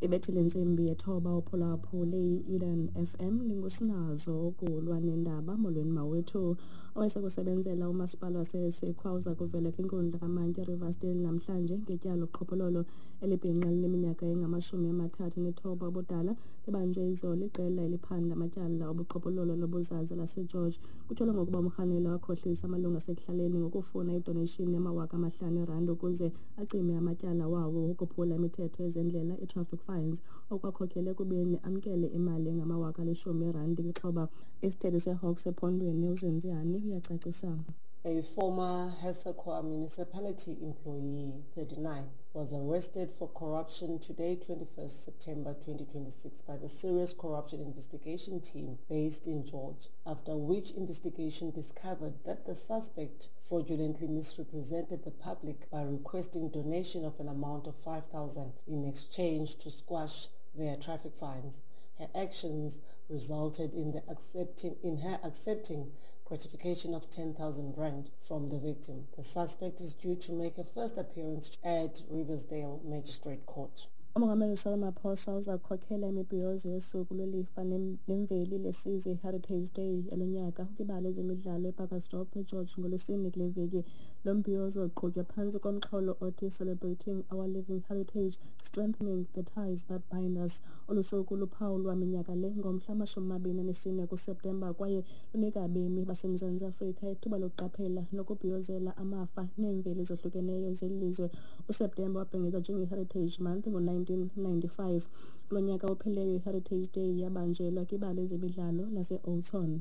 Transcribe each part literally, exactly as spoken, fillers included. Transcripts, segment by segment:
Ibethile intsimbi yethoba, uphulaphule i-Eden F M, ndingusinazo ukulwa nendaba. Molweni mawethu. Owayesakusebenzela umasipala waseSekhwa uza kuvela kwinkundla kamantyi eRiversdale namhlanje ngetyala loqhophololo. Elibhinqa lineminyaka engamashumi amathathu nethoba ubudala libanjwe izolo iqela eliphanda amatyala obuqhophololo lobuzaza laseGeorge. Kutyholwa ngokuba umrhanelwa wakhohlisa amalungu asekuhlaleni ngokufuna idonation yamawaka amahlanu erandi ukuze acime amatyala wawo wokuphula imithetho yezendlela, i-traffic fines, okwakhokhela ekubeni amkele imali engamawaka alishumi erandi kwixhoba. Isithethi seHawks ephondweni, uZinzi Hani, uyacacisa. A former Hessequa municipality employee, thirty-nine, was arrested for corruption today, twenty-first September twenty twenty-six, by the Serious Corruption Investigation Team based in George, after which investigation discovered that the suspect fraudulently misrepresented the public by requesting donation of an amount of five thousand in exchange to squash their traffic fines. Her actions resulted in the accepting in her accepting gratification of ten thousand rand from the victim. The suspect is due to make a first appearance at Riversdale Magistrate Court. Umongameli Cyril Ramaphosa uza kukhokhela imibhiyozo yosuku lwelifa nemveli lesizwe, i-Heritage Day yalo nyaka, kwibala ezemidlalo ePacaltsdorp eGeorge ngoLwesine kule veki. Lo mbhiyozo uqhutywa phantsi komxholo othi "Celebrating Our Living Heritage, Strengthening the Ties That Bind Us". Olu suku luphawulwa minyaka le ngomhla wamashumi amabini anesine kuSeptemba kwaye lunika abemi baseMzantsi Afrika ithuba lokuqaphela nokubhiyozela amafa neemveli ezohlukeneyo zeli lizwe. USeptemba wabhengezwa njenge-Heritage Month ngo-nineteen ninety-five. Kulo nyaka uphelileyo, i-Heritage Day yabanjelwa kwibala ezemidlalo lase-Oudtshoorn.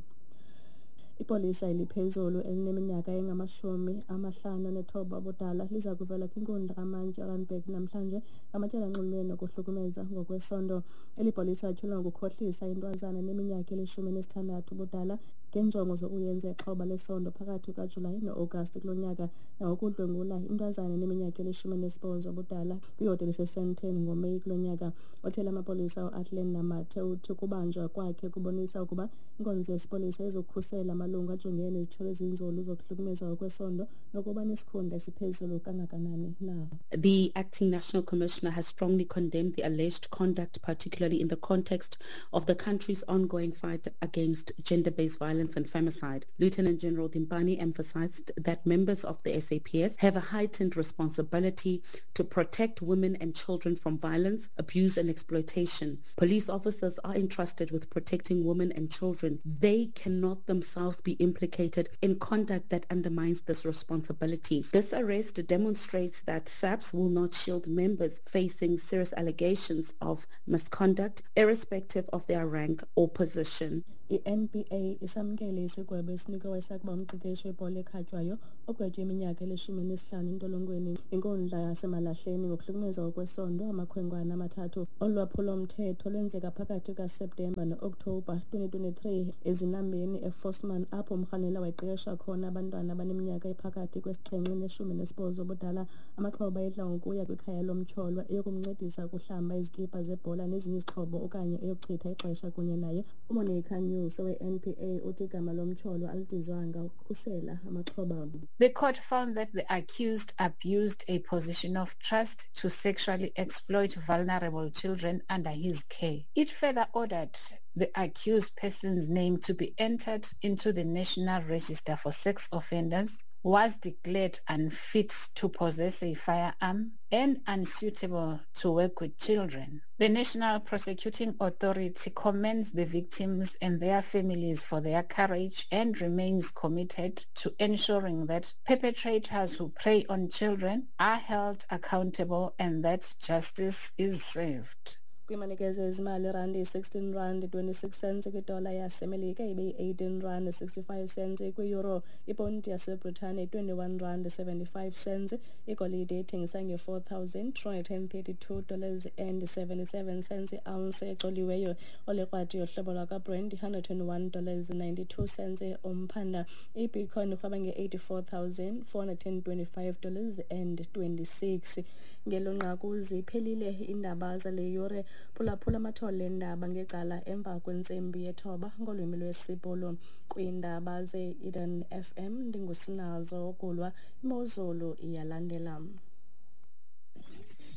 Ipolisa eliphezulu elineminyaka engamashumi amahlanu anethoba ubudala liza kuvela kwinkundla kamantyi eRandburg namhlanje ngamatyala anxulumene nokuhlukumeza ngokwesondo. Eli polisa lityholwa ngokukhohlisa intwazana eneminyaka elishumi elinesithandathu ubudala ngeenjongo zokuyenza ixhoba lesondo phakathi kukaJulayi no-Agasti kulo nyaka, nangokudlwengula intwazana eneminyaka elishumi elinesibhozo ubudala kwihotele eseSandton ngoMeyi kulo nyaka. Othethela amapolisa, uAthlone Namathe, uthi ukubanjwa kwakhe kubonisa ukuba inkonzo yesipolisa izokukhusela amalungu ajongene nezityholo ezinzulu zokuhlukumeza ngokwesondo nokuba nesikhundla esiphezulu kangakanani na. The acting national commissioner has strongly condemned the alleged conduct, particularly in the context of the country's ongoing fight against gender-based violence and femicide. Lieutenant General Dimpane emphasized that members of the S A P S have a heightened responsibility to protect women and children from violence, abuse and exploitation. Police officers are entrusted with protecting women and children. They cannot themselves be implicated in conduct that undermines this responsibility. This arrest demonstrates that S A P S will not shield members facing serious allegations of misconduct, irrespective of their rank or position. I-N B A isamkele isigwebo esinikwe owayesakuba umqeqeshi webhola ekhatywayo ogwetywe iminyaka elishumi nesihlanu entolongweni inkundla yaseMalahleni ngokuhlukumeza ngokwesondo amakhwenkwana amathathu. Olu lwaphulo-mthetho lwenzeka phakathi kukaSeptemba no-Okthobha twenty twenty-three eZinambeni eVosman, apho umrhanelwa wayeqeqesha khona abantwana abaneminyaka ephakathi kwesixhenxe neshumi nesibhozo ubudala. Amaxhoba ayedla ngokuya kwikhaya lomtyholwa eyokumncedisa ukuhlamba izikipa zebhola nezinye izixhobo okanye eyokuchitha ixesha kunye naye. UMonica News owe-N P A uthi igama lomtyholwa alidizwanga ukukhusela amaxhoba. The court found that the accused abused a position of trust to sexually exploit vulnerable children under his care. It further ordered the accused person's name to be entered into the National Register for Sex Offenders, was declared unfit to possess a firearm and unsuitable to work with children. The National Prosecuting Authority commends the victims and their families for their courage and remains committed to ensuring that perpetrators who prey on children are held accountable and that justice is served. Kwimanekezo ezimali, irandi yi-sixteen rand twenty-six cents kwidola yaseMelika, ibe yi-eighteen rand sixty-five cents kwi-euro, iponti yaseBritane yi-twenty-one rand seventy-five cents. Igolide ithengisa nge-four thousand two hundred thirty-two dollars and seventy-seven cents i-ounce ecoliweyo. Olekrwati yohlobo lwakwaBrent, one hundred twenty-one dollars ninety-two cents umphanda. Ibitcoin irhweba nge-eighty-four thousand four hundred twenty-five dollars and twenty-six. Ngelo nqaku ziphelile iindaba zale yure. Phulaphula amathole eendaba ngecala emva kwentsimbi yethoba ngolwimi lwesiBhulu. Kwiindaba ze-Eden F M, ndingusinazo Gulwa. Imozulu iyalandela.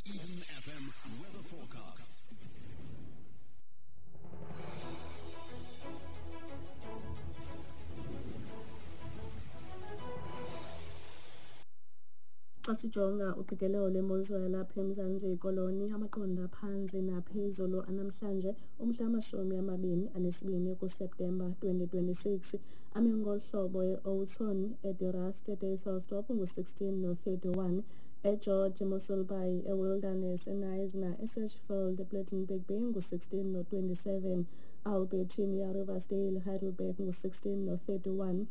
Eden F M weather forecast. Xa sijonga uqikelelo lwemozulu yalapha eMzantsi Koloni, amaqondo aphantsi naphezulu anamhlanje umhla wamashumi amabini anesibini kuSeptemba twenty twenty-six ame ngolu hlobo: e-Oudtshoorn, eDe Rust, eDysselsdorp ngu-sixteen no-thirty-one, eGeorge, eMossel Bay, eWilderness, eKnysna, eSedgefield, ePlettenberg Bay ngu-sixteen no-twenty-seven, Albertinia, Riversdale, Heidelberg ngu-sixteen no-thirty-one,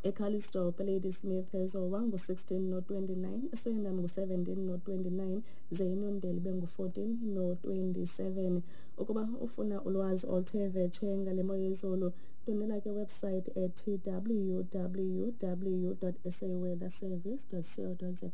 eCalitzdorp, Ladysmith, eZowa ngu-sixteen no-twenty-nine, eSwellnum ngu-seventeen no-twenty-nine, ze iNondeli bengu-fourteen no-twenty-seven. Ukuba ufuna ulwazi oluthe vetshe ngale mo yezulu, ndwendwela ke website ethi w w w dot s a weather service dot co dot za.